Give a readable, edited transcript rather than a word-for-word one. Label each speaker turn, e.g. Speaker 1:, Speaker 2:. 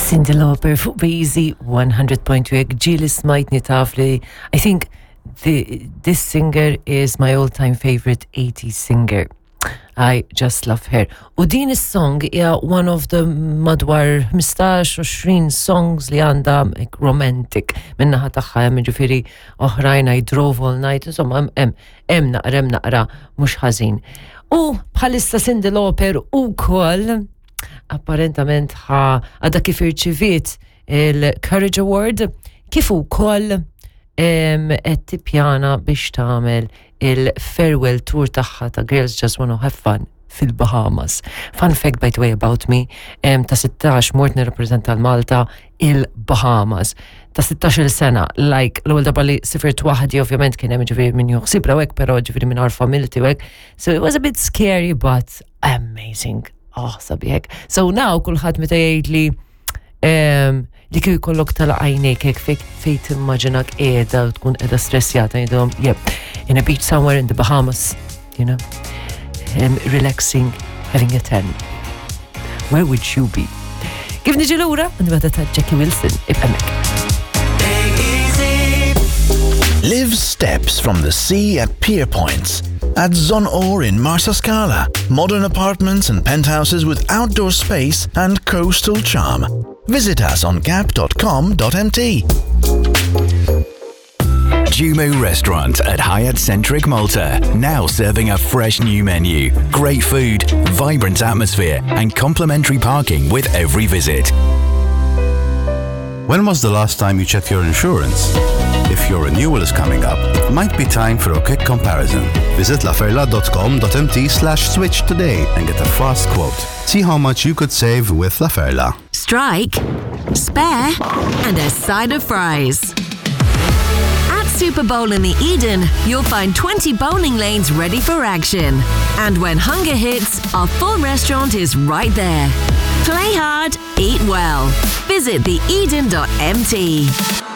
Speaker 1: Cyndi Lauper fuq Beezy 100.2 jekk ġieli smajtni taf li I think the, this singer is my all-time favorite 80s singer. I just love her. U din is-song hija one of the madwar 15-20 songs li għandha romantic minnaħa tagħha hemm ġifieri oħrajn I drove all night, insomma hemm hemm naqra hemm naqra mhux ħażin. U bħalissa Cyndi Lauper ukoll apparentament ħa għadha kif irċiviet il-Courage Award kif ukoll qed tippjana biex tagħmel il-farewell tour tagħha ta' Girls Just Wanna Have Fun fil-Bahamas. Fun fact by the way about me, ta' 16 mort nirrappreżenta l-Malta il-Bahamas. Ta' 16 sena, like l-ewwel darba li sifirt waħdi ovvjament kien hemm ġifieri min joħsibra hekk, però ġifieri minn familti u hekk. So it was a bit scary but amazing. Oh, sabiħek. So now kulħadd meta jgħid li li kif jkollok tala għajnejk hekk fejn fejn timmaġinak qiegħda u tkun qiegħda stressjata jgħidhom, yep, in a beach somewhere in the Bahamas, relaxing, having a tan. Where would you be? Kif niġi lura, nibgħata ta' Jackie Wilson, ibqa' hemmhekk.
Speaker 2: Live steps from the sea at Pier Points. At Zonor in Marsascala, modern apartments and penthouses with outdoor space and coastal charm. Visit us on gap.com.mt.
Speaker 3: Jumu Restaurant at Hyatt Centric Malta, now serving a fresh new menu, great food, vibrant atmosphere, and complimentary parking with every visit.
Speaker 4: When was the last time you checked your insurance? If your renewal is coming up, it might be time for a quick comparison. Visit laferla.com.mt slash switch today and get a fast quote. See how much you could save with Laferla.
Speaker 5: Strike, spare, and a side of fries. At Super Bowl in the Eden, you'll find 20 bowling lanes ready for action. And when hunger hits, our full restaurant is right there. Play hard, eat well. Visit theeden.mt.